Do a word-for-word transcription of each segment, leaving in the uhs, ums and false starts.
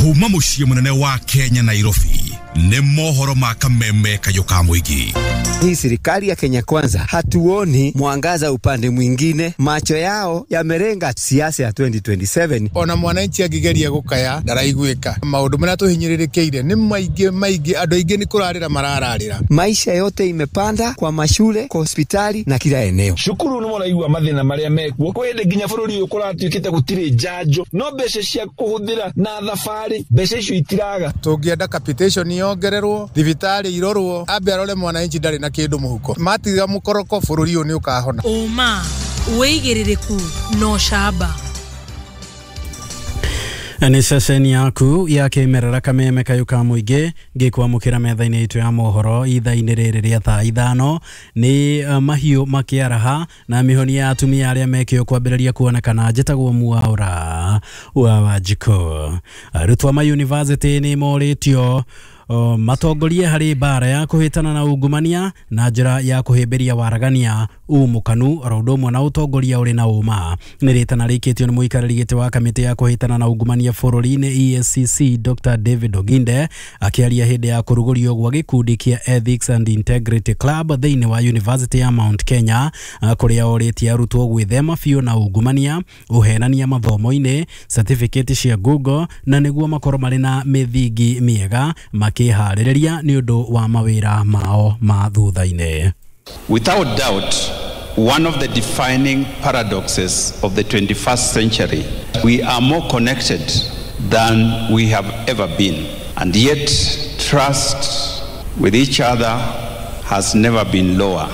Kuma muciĩ munene wa Kenya Nairobi nĩ mohoro ma kameme kayũ ka mũingĩ. Hii serikali ya Kenya Kwanza hatuoni mwangaza upande mwingine, macho yao yamerenga siasa ya twenty twenty-seven. Ona mwananchi angigeria gukaya ndaraiguika, maundu maria tuhinyiririkiire ni maingi maingi, andu aingi ni kurarira marararira. Maisha yote imepanda kwa mashule, kwa hospitali na kila eneo. Shukuru ni muraigua mathina maria mekuo kwende nginya bururi uyu kuratuikite gutiri njanjo no mbeca cia kuhuthira na thabari mbeca icio itiraga. Tungienda capitation yongererwo, thibitari irorwo, ambe arore mwananchi ndari na kindu muhuko, matiga mukoroko bururi uyu ni ukahona. Uma wigiririku no shaba. Nĩ ceceni yaku ya kĩmerera kameme kayũ ka mũingĩ ngĩkwamũkĩra metha-inĩ itũ ya mohoro ithaa-inĩ rĩrĩ rĩa thaa ithano. Nĩ uh, mahiũ makĩaraha na mĩhonia ya atumia arĩa mekĩo kwambĩrĩria kuonekana. Njĩtagwo Mwaura wa Wanjikũ. Arutwo ma university nĩ morĩtio Uh, matongorie harĩ mbara ya kũhĩtana na ungumania na njĩra ya kũhĩmbĩria waragania umũkanu oro ũndũ ũmwe na ũtongoria ũrĩ na ũma. Nĩ rĩtana rĩikĩtio nĩ mũikarĩri gĩtĩ wa kamĩtĩ ya kũhĩtana na ungumania bũrũri-inĩ E A C C Doctor David Oginde akĩaria hĩndĩ ya kũrugũrio gwa gĩkundi kĩa Ethics and Integrity Club thĩinĩ wa University ya Mount Kenya, kũrĩa orĩtie arutwo gwĩthema biũ na ungumania, ũhenania mathomo-inĩ, certificate cia Google na nĩguo makorwo marĩ na mĩthingi mĩega makĩharĩrĩria nĩ ũndũ wa mawĩra mao ma thutha-inĩ. Without doubt, one of the defining paradoxes of the twenty-first century, we are more connected than we have ever been, and yet trust with each other has never been lower.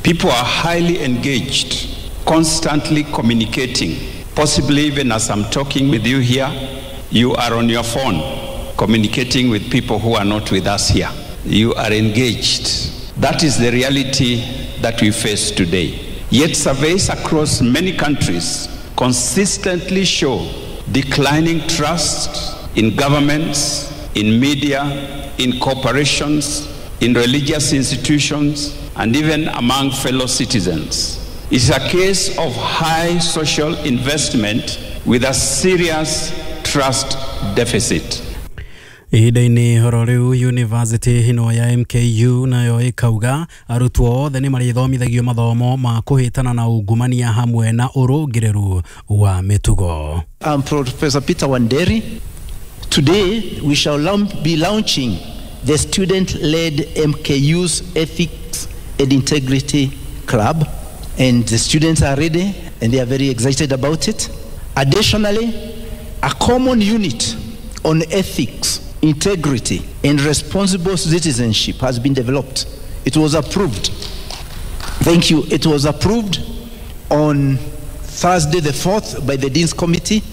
People are highly engaged, constantly communicating. Possibly even as I'm talking with you here, you are on your phone communicating with people who are not with us here. You are engaged. That is the reality that we face today. Yet surveys across many countries consistently show declining trust in governments, in media, in corporations, in religious institutions, and even among fellow citizens. It's a case of high social investment with a serious trust deficit. Ihinda-inĩ horo rĩu University ĩno ya M K U nayo ĩkauga arutwo othe nĩ marĩthomithagio mathomo ma kũhĩtana na ungumania hamwe na ũrũngĩrĩru wa mĩtugo. I'm Professor Peter Wanderi. Today we shall be launching the student-led M K U's Ethics and Integrity Club, and the students are ready and they are very excited about it. Additionally, a common unit on ethics, integrity, and responsible citizenship has been developed. It was approved. Thank you. It was approved on Thursday the fourth by the Dean's Committee.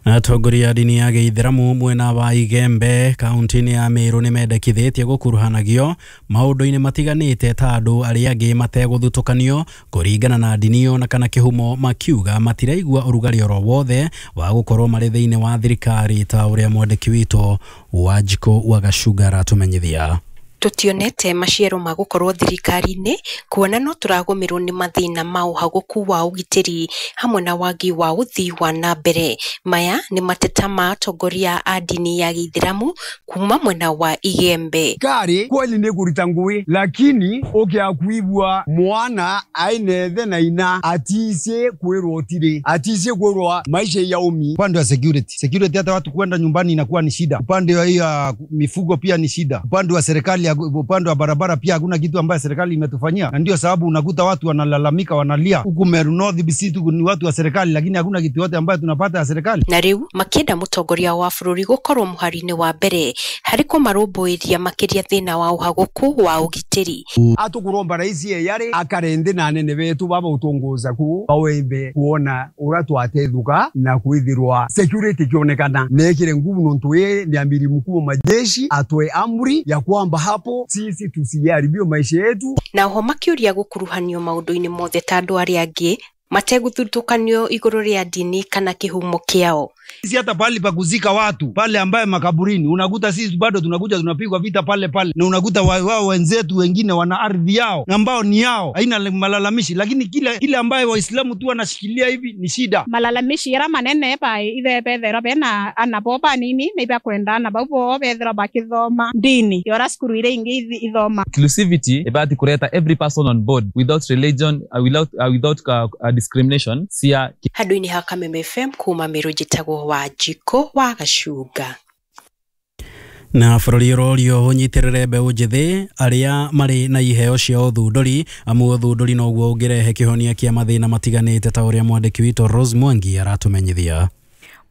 Atongoria a ndini ya gĩithĩramu mwena wa Igembe kaunti-inĩ ya Meru nĩ mendekithĩtie gũkuruhanagio maũndũ-inĩ matiganĩte ta andũ arĩa angĩ mategũthutũkanio kũringana na ndini ona kana kĩhumo, makiuga matiraigua ũrugarĩ oro wothe wa gũkorwo marĩ thĩinĩ wa thirikari ta ũrĩa mwandĩki witũ Wanjikũ wa Gacunga aratũmenyithia. Tutionete maciaro ma gukorwo thirikari-inĩ kuona no tũragũmĩrwo nĩ mathĩna ma ũhagũku wa ũgitĩri hamwe na wagi wa ũthii wa na mbere. Maya nĩ mateta ma atongoria a ndini ya gĩithĩramu kuma mwena wa Igembe. Kari kweli nĩ kũruta ngũĩ, lakini ũkĩakuibua mwana ainethe na ina atice kwĩrwo tirĩ atice kwĩrwo maisha ya umi. Upande wa security, security hata watu kwenda nyumbani inakuwa ni shida. Upande wa hiyo mifugo pia ni shida. Upande wa serikali, upande wa barabara pia hakuna kitu ambaye serikali imetufanyia, na ndio sababu unakuta watu wanalalamika, wanalia huku Meru North B C tu ni watu wa serikali, lakini hakuna kitu yote ambayo tunapata ya serikali. Na riu makienda mutongoria wa bururi gukorwo muhari-inĩ wa mbere harĩ kũmarũmbũiria makĩria thĩna wa ũhagũku wa ũgitĩri. Atukuromba raisi yare akarende na anene betu baba utongoza ku bawembe kuona ura twatethuka na kwithirwa security kionekana nekire nguvu nontu ye ni amiri mkuu wa majeshi atoe amri ya kwamba hapo sisi tusiharibio maisha yetu. Na ho makiuria gukuruhanio maundu-inĩ mothe ta andu arĩa angĩ mategũthutũkanio igũrũ rĩa ndini kana kĩhumo kĩao. Sisi hata pahali pa kuzika watu pale ambaye makaburini unakuta sisi bado tunakuja tunapigwa vita pale pale, na unakuta wao wenzetu wengine wana ardhi yao ambao ni yao, haina malalamishi, lakini kile kile ambaye Waislamu tu wanashikilia hivi ni shida. Malalamishi yara manene pa ithe bethera bena anaboba nini na iba kwenda na babo bethera bakithoma dini yora skuru ile ingi ithoma. Inclusivity ibati kureta every person on board without religion, uh, without uh, without uh, uh, discrimination sia handu-inĩ ha Kameme F M kuma Meru njĩtagwo Wanjikũ wa Gacunga. Na bũrũri ũrorio ũnyitĩrĩre mbeũ njĩthĩ arĩa marĩ na iheo cia ũthundũri, amu ũthundũri noguo ũngĩrehe kĩhonia kĩa mathĩna matiganĩte ta ũrĩa mwandĩki witũ Rose Mwangi aratũmenyithia.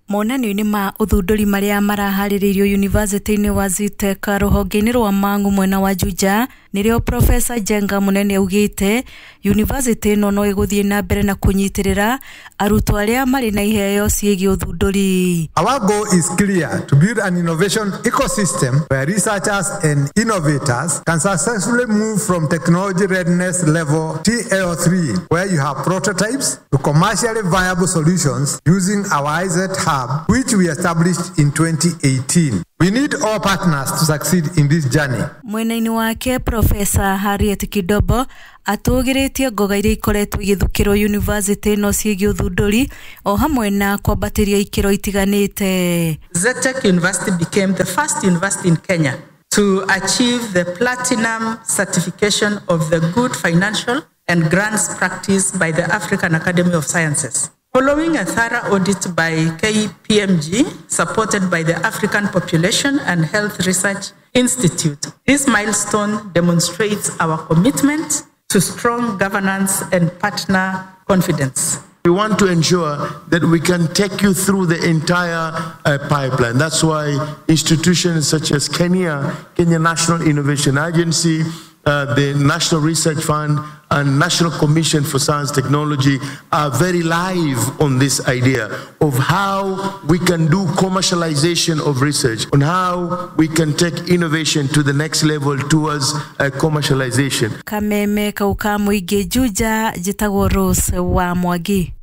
Monanio-inĩ ma ũthundũri marĩa maraharĩrĩirio yunivasĩtĩ-inĩ wa Zetech rũhonge-inĩ rwa Mang'u mwena wa Juja nĩrĩo Profesa Njenga Munene augĩte yunivasĩtĩ ĩno no ĩgũthiĩ na mbere na kũnyitĩrĩra arutwo arĩa marĩ na iheo ciĩgiĩ ũthundũri. Our goal is clear: to build an innovation ecosystem where researchers and innovators can successfully move from technology readiness level T L three, where you have prototypes, to commercially viable solutions using our I Z Hub, which we established in twenty eighteen. We need all partners to succeed in this journey. Mwena-inĩ wake Profesa Harriet Kidobo atũgĩrĩtie ngoga iria ikoretwo igĩthukĩrwo yunivasĩtĩ ĩno ciĩgiĩ ũthundũri o hamwe na kwambatĩria ikĩro itiganĩte. Zetech University became the first university in Kenya to achieve the platinum certification of the good financial and grants practice by the African Academy of Sciences. Following a thorough audit by K P M G, supported by the African Population and Health Research Institute, this milestone demonstrates our commitment to strong governance and partner confidence. We want to ensure that we can take you through the entire uh, pipeline. That's why institutions such as Kenya, Kenya National Innovation Agency, uh, the National Research Fund, and National Commission for Science Technology are very live on this idea of how we can do commercialization of research, on how we can take innovation to the next level towards uh, commercialization. Kameme kauka muige Juja, njĩtagwo Rose wa Mwangi.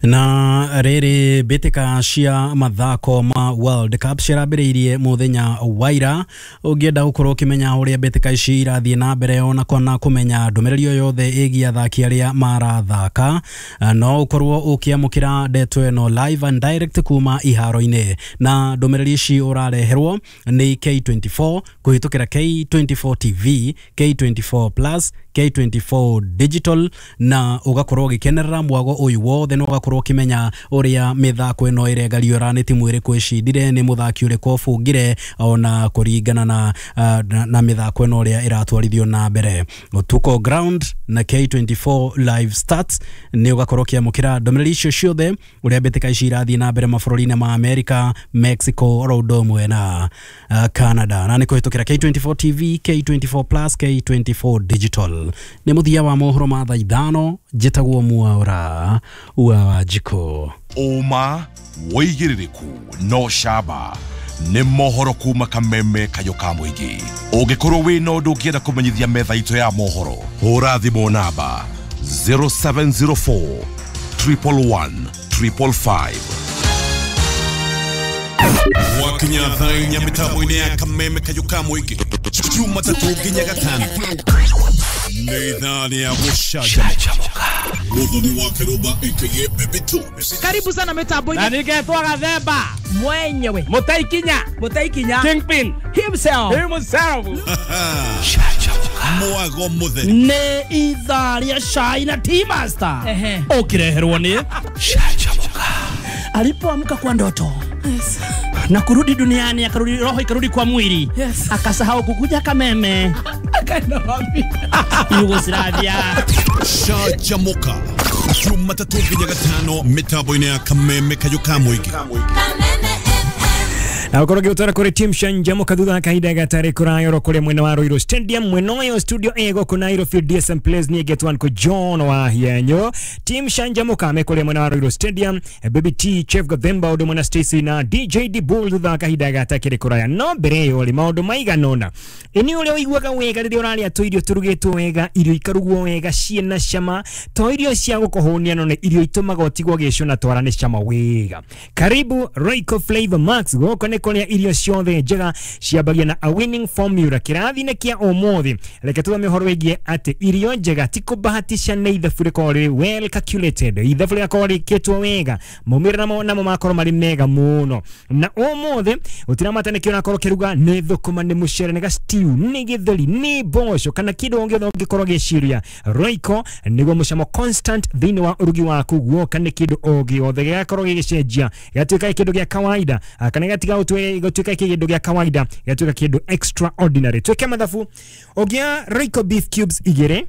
Na rĩrĩ mbĩtĩka cia mathako ma World Cup cirambĩrĩirie mũthenya wa ira. Ũngĩenda gũkorwo ũkĩmenya ũrĩa mbĩtĩka ici irathiĩ na mbere ona kana kũmenya ndũmĩrĩri o yothe ĩgiĩ athaki arĩa marathaka, no ũkorwo ũkĩamũkĩra ndeto ĩno live and direct kuma iharo-inĩ, na ndũmĩrĩri ici ũrareherwo nĩ K twenty-four kũhĩtũkĩra K twenty-four T V, K twenty-four Plus, K twenty-four Digital, na ũgakorwo ũgĩkenerera mwago ũyũ wothe na ũgakorwo ũkĩmenya ũrĩa mĩthako ĩno ĩregariũra, nĩ timu ĩrĩkũ ĩcindire, nĩ mũthaki ũrĩkũ ũbungire, ona kũringana na, na, na mĩthako ĩno ũrĩa ĩratwarithio na mbere. Tuko ground na K twenty-four live stats nĩ ũgakorwo ũkĩamũkĩra ndũmĩrĩri icio ciothe ũrĩa mbĩtĩka ici irathiĩ na mbere mabũrũri-inĩ ma America, Mexico, oro ũndũ ũmwe na Canada, na nĩ kũhĩtũkĩra K twenty-four T V, K twenty-four Plus, K twenty-four Digital. Nĩ mũthia wa mohoro ma thaa ithano, njĩtagwo Mwaura wa Wanjikũ. Ũma wĩigĩrĩrĩku no camba nĩ mohoro kuma Kameme kayũ ka mũingĩ. Ũngĩkorwo wĩna ũndũ ũngĩenda kũmenyithia metha itũ ya mohoro, hũra thimũ namba zero seven zero four triple one triple five. Wakinya thaa inya mĩtambo-inĩ ya Kameme kayũ ka mũingĩ Jumatatũ nginya Gatano nĩ ithaa rĩa gũcanjamũka. Muthoni wa Kiruba aka Baby Two. Karibu sana mitambo-inĩ. Na ningetwa Gathemba mwenyewe. Mutaikinya. Mutaikinya. Kingpin himself. Himself. Mwago mutheri. Nĩ ithaa rĩa cai na Tea Master. Ũkĩreherwo nĩ Canjamũka. Alipoamka kwa ndoto. Yes. Na kurudi duniani, akarudi roho ikarudi kwa mwili. Yes. Akasahau kukuja Kameme. Akaenda wapi? Yugoslavia. Canjamũka. Jumatatũ nginya Gatano mĩtambo-inĩ ya Kameme kayũ ka mũingĩ. Kameme F M. Na ukorwo gĩgũtwara kũrĩ team Canjamuka thutha wa kahinda gatarĩ kũraya oro kũrĩa mwena wa Ruiru Stadium mwena ũyũ studio A gũkũ Nairobi D S M Place niĩ ngetwo Uncle John wa Hienyo. Team Canjamuka me kũrĩa mwena wa Ruiru Stadium, Baby T, Chef Gathemba ũndũ mwena Stacy na D J D Bull thutha wa kahinda gatakĩrĩ kũraya. No mbere ĩyo rĩ maũndũ maigana ũna. Ĩni ũrĩa ũiguaga wega rĩrĩa ũrarĩa tũirio tũrugĩtwo wega, irio ikarugwo wega ciĩna cama, to irio cia gũkũhũnia no nĩ irio itũmaga ũtigwo ũgĩcũna twara nĩ cama wega. Karibu Royco Flavor Max gũkũ nĩ kũrĩa irio ciothe njega ciambagia na a winning formula. Kĩrathi-inĩ kĩa ũmũthĩ reke tũthome ũhoro wĩgiĩ atĩ irio njega ti kũbahatisha nĩ ithabu rĩkorwo rĩrĩ well calculated, ithabu rĩgakorwo rĩkĩtwo wega, maumĩrĩra namo namo makorwo marĩ mega mũno. Na ũmũthĩ ũtiramata nĩkĩo ũrakorwo ũkĩruga, nĩ thũkũma, nĩ mũcere, nĩ ga stew, nĩ gĩtheri, nĩ mboco kana kĩndũ o gĩothe ũngĩkorwo ũgĩciria. Royco nĩguo mũcamo constant thĩinĩ wa ũrugi waku, guoka nĩ kĩndũ o gĩothe gĩgakorwo gĩgĩcenjia gĩgatuĩka kĩndũ gĩa kawaida kana gĩgatiga gũtuĩka kĩndũ gĩa kawaida gĩgatuĩka kĩndũ extraordinary. Twĩke mathabu, ũngĩa Royco beef cubes igĩrĩ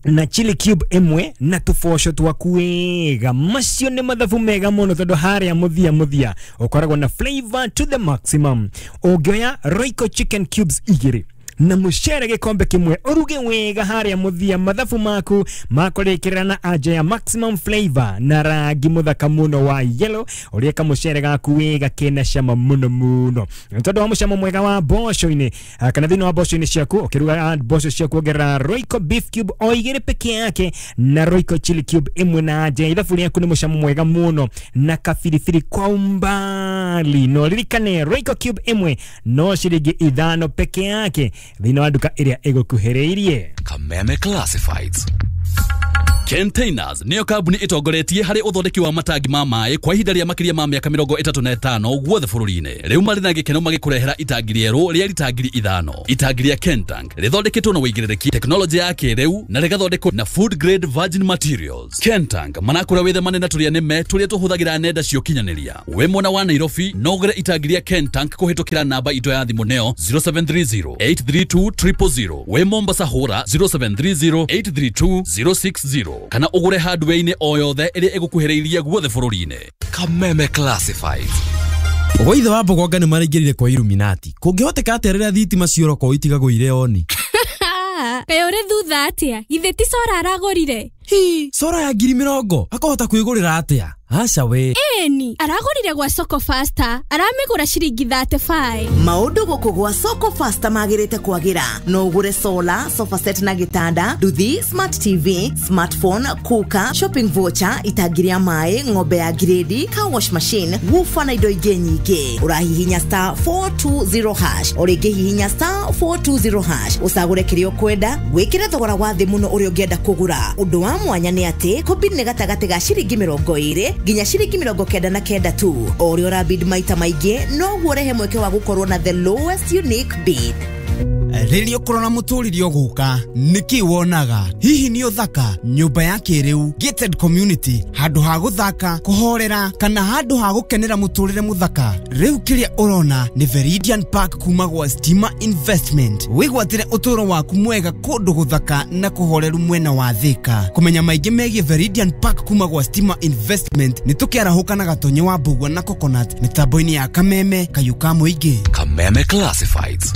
na chili cube ĩmwe na tũboco twaku wega, macio nĩ mathabu mega mũno tondũ harĩa mũthia mũthia ũkoragwo na flavor to the maximum. Ũngĩoya Royco chicken cubes igĩrĩ na mũcere gĩkombe kĩmwe ũruge wega harĩa mũthia, mathabu maku makũrĩkĩrĩra na anja ya maximum flavor na rangi mũthaka mũno wa yellow, ũrĩa kamũcere gaku wega kena cama mũno mũno tondũ wa mũcamo mwega wa mboco-inĩ kana thĩinĩ wa mboco-inĩ ciaku. Ũkĩruga mboco ciaku ongerera Royco beef cube o igĩrĩ peke yake na Royco chili cube ĩmwe na anja ithabu rĩaku nĩ mũcamo mwega mũno na kabiribiri kwa umbali. No ririkane Royco cube ĩmwe no ciringi ithano peke yake thĩinĩ wa nduka ĩrĩa ĩgũkuhĩrĩirie. Kameme Classifieds. Containers niyo kambuni itongoretie harĩ ũthondeki wa matangi ma maĩ kwa ihinda rĩa makĩria ma mĩaka mĩrongo ĩtatũ na ĩtano guothe bũrũri-inĩ. Rĩu marĩ na gĩkeno magĩkũrehera itangi rĩerũ rĩa rita ngiri ithano. Itangi rĩa Kentank rĩthondeketwo na ũigĩrĩrĩki, tekinoronjĩ ya kĩrĩu na rĩgathondekwo na food grade virgin materials. Kentank manakũra wĩthemane na tũrĩa nĩme tũrĩa tũhũthagĩra nenda cia ũkinyanĩria. Wĩ mwena wa Nairobi no ũgũre itangi rĩa Kentank kũhĩtũkĩra namba itũ ya thimũ nĩyo zero seven three zero eight three two triple zero. Wĩ Mombasa hũra zero seven three zero eight three two zero six zero kana ũgũre hardware-inĩ o yothe ĩrĩa ĩgũkuhĩrĩirie guothe bũrũri-inĩ. Kameme Classifieds. Ũgũithe wa Mbogonga nĩ maraingĩrire kwa Illuminati. Kũngĩhoteka atĩa rĩrĩa thitima cioroko itigagwo irĩ oni? Kaĩ ũrĩ thutha atĩa? Githĩ ti Sora aragũrire? Hi, Sora ya ngiri mĩrongo akahota kwĩgũrĩra atĩa? Aca we. Ĩni, aragũrire gwa Soko Faster, aramĩgũra ciringi thirty-five. Maũndũ gũkũ gwa Soko Faster magĩrĩte kwagĩra. No ũgũre solar, sofa set na gĩtanda, nduthi, smart T V, smartphone, cooker, shopping voucher, itangi rĩa maĩ, ng'ombe ya grade, car wash machine, woofer na indo ingĩ nyingĩ. Ũrahihinya star four two zero hash, o rĩngĩ hihinya star four two zero hash, ũcagũre kĩrĩa ũkwenda, wĩkĩre thogora wa thĩ mũno ũrĩa ũngĩenda kũgũra. Ũndũ wa mwanya nĩ atĩ kũbid nĩ gatagatĩ ga ciringi mĩrongo ĩrĩ nginya ciringi mĩrongo kenda na kenda tu. O ũrĩa ũrabid maita maingĩ noguo ũrehe mweke wa gũkorwo na the lowest unique bid. Rĩrĩa ũkũrora mũtũrĩre ũgũka nĩkĩ wonaga? Hihi nĩ ũthaka, nyũmba ya kĩrĩu, gated community, handũ ha gũthaka, kũhorera kana handũ ha gũkenera mũtũrĩre mũthaka? Rĩu kĩrĩa ũrona nĩ Veridian Park kuma gwa Stima Investment. Wĩgwatĩre ũtũũro waku mwega kũndũ gũthaka na kũhoreru mwena wa Thika. Kũmenya maingĩ megiĩ Veridian Park kuma gwa Stima Investment nĩ tũkĩarahũka na Gatonye wa Mbugua na Coconut mĩtambo-inĩ ya Kameme Kayũ ka Mũingĩ. Kameme Classifieds.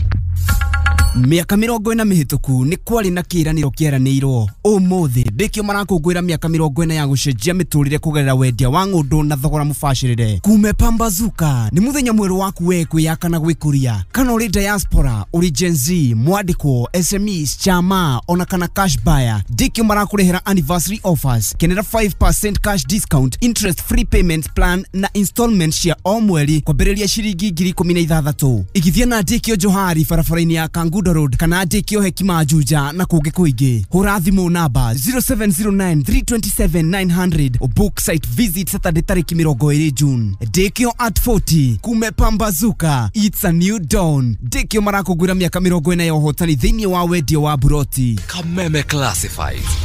Mĩaka mĩrongo ĩna mĩhĩtũku nĩ kwarĩ na kĩĩranĩro kĩeranĩirwo. Ũmũthĩ ndĩkĩo marakũngũĩra mĩaka mĩrongo ĩna ya gũcenjia mĩtũrĩre kũgerera wendia wa ng'ũndũ na thogora mũbacĩrĩre. Kume Pambazuka nĩ mũthenya mwerũ waku we kwĩyaka na gwĩkũria. Kana ũrĩ diaspora, ũrĩ Gen Z, mwandĩkwo, S M Es, chama ona kana cash buyer, ndĩkĩo marakũrehera anniversary offers. Kenera five percent cash discount, interest free payment plan na installment cia o mweri kwambĩrĩria ciringi ngiri ikũmi na ithathatũ. Igithia na ndĩkĩo Johari barabara-inĩ ya Kangundo Road kana ndĩkĩo Hekima Juja na kũngĩ kũingĩ. Hũra thimũ namba zero seven zero nine three two seven nine hundred o book site visit Saturday tarĩki mĩrongo ĩrĩ June. Ndĩkĩo at forty kume Pambazuka, it's a new dawn. Ndĩkĩo marakũngũĩra mĩaka mĩrongo ĩna ya ũhotani thĩinĩ wa wendia wa buroti. Kameme Classifieds.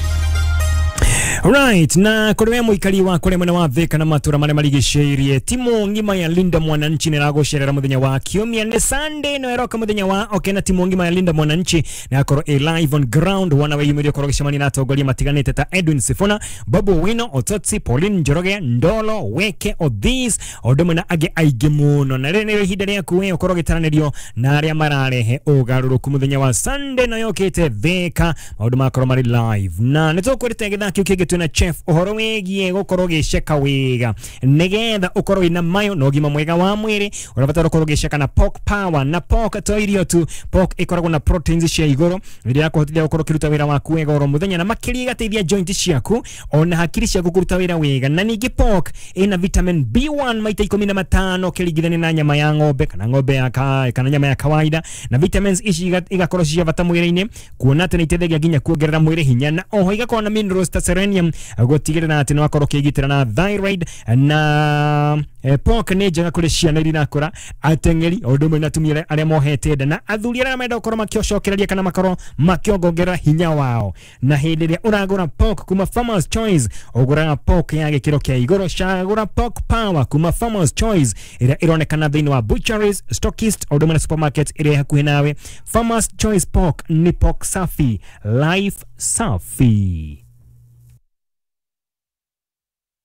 Right, na kuri we muikari wa kuri mwena wa Thika na matura maria marigicĩirie timu ng'ima ya Linda Mwananchi nĩ ĩragũcerera mũthenya wa kiumia nĩ Sunday no ĩroka mũthenya wa okay, na timu ng'ima ya Linda Mwananchi na akorwo ĩ live on ground wana weyumĩrie ũkorwo gĩcemania na atongoria matiganĩte ta Edwin Sifuna, Babu Wino, Ototsi, Pauline Njoroge, Ndolo, Weke, Odhis o ũndũ ũmwe na angĩ aingĩ mũno. Na rĩrĩ nĩrĩo ihinda rĩaku we ũkorwo ũgĩtaranĩrio na arĩa mararehe ũgarũrũku mũthenya wa Sunday no yũkĩte Thika maũndũ makorwo marĩ live na nĩ tũkwĩrĩte gĩthaa kĩu kĩngĩ twĩna chef ũhoro wĩgiĩ gũkorwo ũgĩceka wega nĩgetha ũkorwo wĩna mayo na ũgima mwega wa mwĩrĩ. Ũrabatara ũkorwo ũgĩceka na pork power, na pork to irio tu, pork ĩkoragwo na proteins cia igũrũ iria yakũhotithia gũkorwo ũkĩruta wĩra waku wega oro mũthenya na makĩria ĩgateithia joint ciaku ona hakiri ciaku kũruta wĩra wega. Na ningĩ pork ĩna vitamin B one maita ikũmi na matano ũkĩringithania na nyama ya ng'ombe kana ng'ombe ya ka, kana nyama ya kawaida, na vitamins ici igakorwo cia bata mwĩrĩ-inĩ kuona atĩ nĩ iteithagia nginya kuongerera mwĩrĩ hinya, na oho igakorwo na minerals ta selenium gũtigĩrĩra atĩ nĩ wakorwo ũkĩgitĩra na thyroid. Na eh, pork nĩ njega kũrĩ ciana iria irakũra, ateng'eri o ũndũ ũmwe na atumia arĩa mohete nda na athuri arĩa marenda gũkorwo makĩcokereria kana makorwo makĩongongerera hinya wao. Na hĩndĩ ĩrĩa ũragũra pork kuma Farmers Choice ũgũraga pork ya gĩkĩro kĩa igũrũ. Cagũra pork power kuma Farmers Choice ĩrĩa ĩronekana thĩinĩ wa butcheries, stockist o ũndũ ũmwe na supermarket ĩrĩa hakuhĩ nawe. Farmers Choice pork ni pork safi, life safi.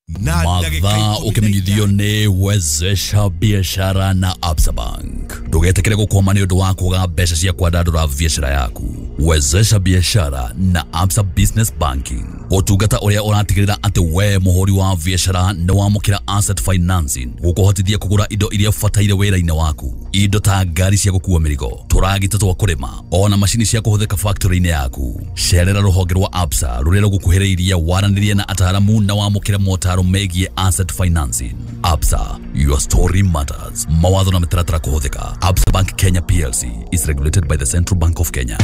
Mathaa ũkĩmenyithio nĩ Wezesha Biashara na Absa Bank. Ndũgetĩkĩre gũkwama nĩ ũndũ wa kwaga mbeca cia kwandandũra biashara yaku. Wezesha Biashara na Absa Business Banking, ũtungata ũrĩa ũratigĩrĩra atĩ we mũhũri wa biashara nĩ wamũkĩra asset financing gũkũhotithia kũgũra indo iria ũbataire wĩra-inĩ waku, indo ta ngari cia gũkua mĩrigo, tũragita twa kũrĩma ona macini cia kũhũthĩka factory-inĩ yaku. Cerera rũhonge rwa Absa rũrĩa rũgũkuhĩrĩirie waranĩrie na ataaramu na wamũkĩre motaro megiĩ asset financing. Absa, your story matters. Mawatho na mĩtaratara kũhũthĩka. Absa Bank Kenya P L C is regulated by the Central Bank of Kenya.